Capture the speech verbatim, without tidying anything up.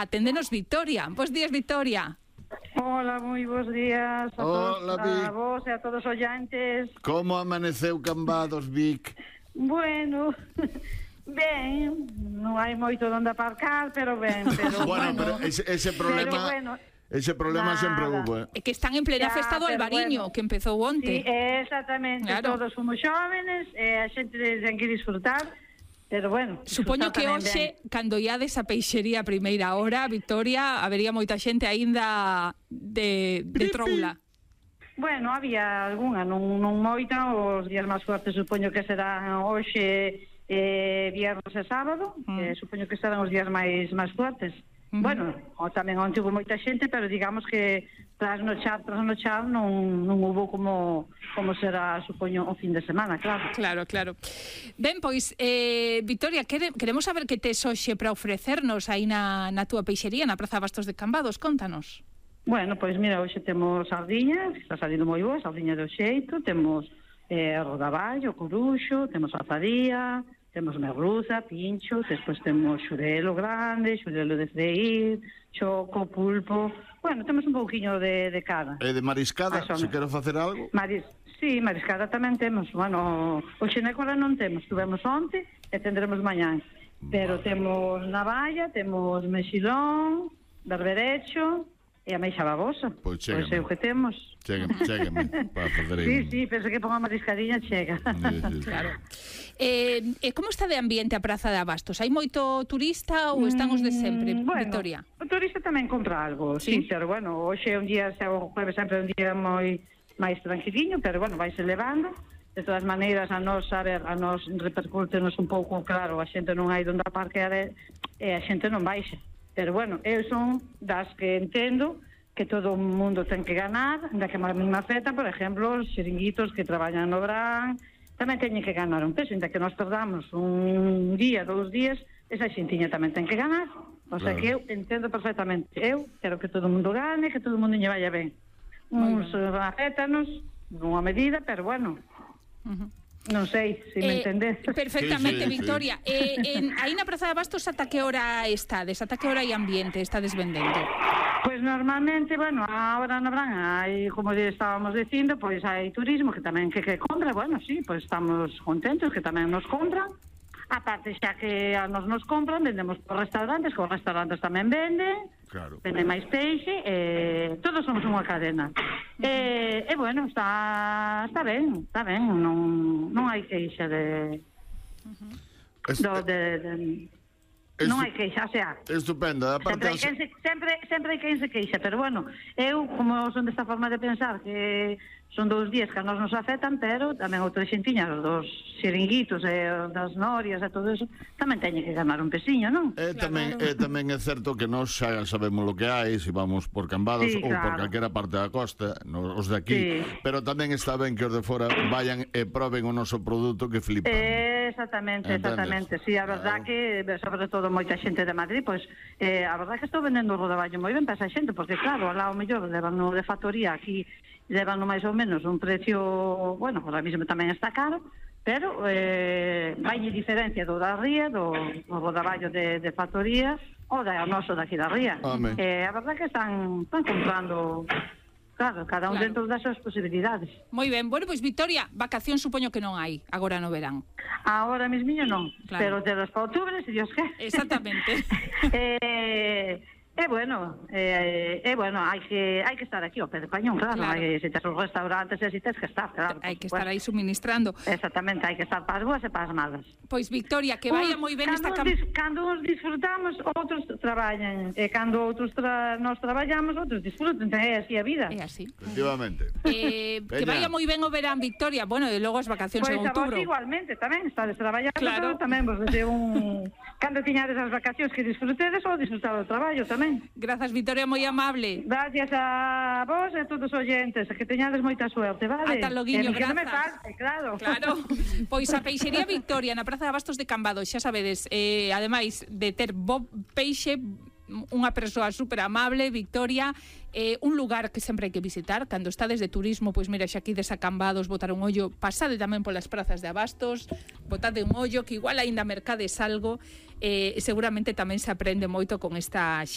aténdenos Victoria. Bos días, Victoria. Hola, moi bons días a todos, Hola, Vic. a vos e a todos os ollantes. Como amaneceu Cambados, Vic? Bueno, ben, non hai moito onde aparcar, pero ben, pero Bueno, bueno, pero ese, ese problema... pero bueno, Ese problema nada. sempre hubo, eh? É que están en plena Ya, festa do pero Albariño, bueno. que empezou onte. sí, exactamente, Claro. todos somos xóvenes, e a xente ten que disfrutar, pero bueno, Supoño que disfrutar tamén hoxe, ben. cando iades a peixería a primeira hora, Victoria, habería moita xente aínda de, de troula. Bueno, había algunha, non, non moita, os días máis fuertes supoño que serán hoxe, eh, viernes e sábado, Mm. eh, supoño que serán os días máis máis fuertes. Mm-hmm. Bueno, o tamén onte hubo moita xente, pero digamos que trasnochar, trasnochar non, non hubo como como será, supoño, o fin de semana, claro. Claro, claro. Ben, pois, eh, Victoria, quere, queremos saber que tes hoxe para ofrecernos aí na, na túa peixería, na Praza Bastos de Cambados, contanos. Bueno, pois mira, hoxe temos sardiñas, que está salindo moi boa, sardiña do xeito, temos eh, rodaballo, coruxo, temos azadía, temos merluza, pincho, despois temos xurelo grande, xurelo de freír, choco, pulpo... Bueno, temos un pouquiño de, de cada. E de mariscada, Más ou se menos. quero facer algo? Maris... Sí, mariscada tamén temos. Bueno, hoxe na cora non temos, tuvemos onte e tendremos mañán. Pero Vale. temos navalla, temos mexilón, berberecho e a meixa babosa. Pois Pois chégame. é o que temos. Chégame, chégame, para fazer aí. Sí, un- sí, penso que ponga mariscadinha chega. Sí, sí, sí. Claro. Eh, e como está de ambiente a Praza de Abastos? Hai moito turista ou están os de sempre, Mm, bueno, Victoria? o turista tamén compra algo, Sí. sí, pero bueno, hoxe é un día, xa o jueves sempre é un día moi máis tranquiliño, pero bueno, vaise levando. De todas maneiras, a nos, a ver, a nos repercútenos un pouco, claro, a xente non hai donde aparquear e e a xente non baixa. Pero bueno, eu son das que entendo que todo o mundo ten que ganar, da que a mesma feta, por exemplo, os xiringuitos que traballan no verán, tamén teñen que ganar un peso, inda que nós perdamos un día, dous días, esa xentiña tamén ten que ganar. O sea Claro. que eu entendo perfectamente. Eu quero que todo o mundo gane, que todo o mundo lle vaya ben. Moi Uns afétanos, nunha medida, pero bueno, Uh-huh. non sei se me Eh, entendes. perfectamente, Sí, sí, sí. Victoria. Eh, en, aí na Praza de Abastos, ata que hora estades? Ata que hora hai ambiente? Estades vendendo? Pois normalmente, bueno, ahora no verán hai, como lle estábamos dicindo, pois hai turismo que tamén que, que compra, bueno, sí, pois estamos contentos que tamén nos compran. Aparte, xa que a nos nos compran, vendemos por restaurantes, que os restaurantes tamén venden, Claro. venden máis peixe, e todos somos unha cadena. E, e bueno, está está ben, está ben, non, non hai queixa de, Es- do, de, de es- non hai queixa, o sea, Estupendo, aparte... Sempre hai, quen se, sempre, sempre hai quen se queixa, pero bueno, eu, como son desta forma de pensar que son dous días que a nos nos afectan, pero tamén outra xentiña, os dos xiringuitos e os das norias e todo eso, tamén teñen que ganar un pesiño, non? É tamén, é tamén é certo que nós xa sabemos lo que hai, se vamos por Cambados Sí, ou por claro. calquera parte da costa, no, os de aquí, Sí. pero tamén está ben que os de fora vayan e proben o noso produto que flipan. Eh, exactamente, Entendes? exactamente. Sí, a verdad Claro. que, sobre todo, moita xente de Madrid, pois, eh, a verdad que estou vendendo o rodaballo moi ben para esa xente, porque claro, lá o mellor levan no de factoría, aquí levan no máis ou menos un precio, bueno, ahora mismo tamén está caro, pero eh, vai diferencia do da ría, do, do rodaballo de, de factoría, ou da noso daqui da ría. Home. Eh, a verdad que están, están comprando, claro, cada un Claro. dentro das súas posibilidades. Moi ben. Bueno, pois, Victoria, vacación supoño que non hai agora no verán. Ahora mismiño non, Claro. pero de los para outubres, se Dios quer. Exactamente. eh, É bueno, é, é bueno, hai que hai que estar aquí ao pé de cañón, claro, Claro. hai, se tes os restaurantes e así tes que estar, claro. Hai que por estar aí supuesto. suministrando. Exactamente, hai que estar para as boas e para as malas. Pois, Victoria, que vaya Uns- moi ben cando esta uns campaña. dis- Cando uns disfrutamos, outros traballan, e cando outros tra nós traballamos, outros disfrutan, é así a vida. É así. Efectivamente. Eh, que Veña. vaya moi ben o verán, Victoria. Bueno, e logo as vacacións Pois en a vos outubro. igualmente tamén, estades traballando, Claro. pero tamén vos deseo un... Cando tiñades as vacacións que disfrutedes ou disfrutar do traballo tamén. Grazas, Victoria, moi amable. Gracias a vos e a todos os oyentes, que teñades moita suerte, vale? Ata loguiño, E que non me grazas. falte, claro. Claro, pois a Peixería Victoria na Praza de Abastos de Cambados, xa sabedes, eh, ademais de ter bo peixe, unha persoa super amable, Victoria, eh, un lugar que sempre hai que visitar cando estades de turismo, pois mira, xa aquí desacambados, botar un ollo, pasade tamén polas prazas de Abastos, botade un ollo, que igual aínda mercades algo, eh, seguramente tamén se aprende moito con esta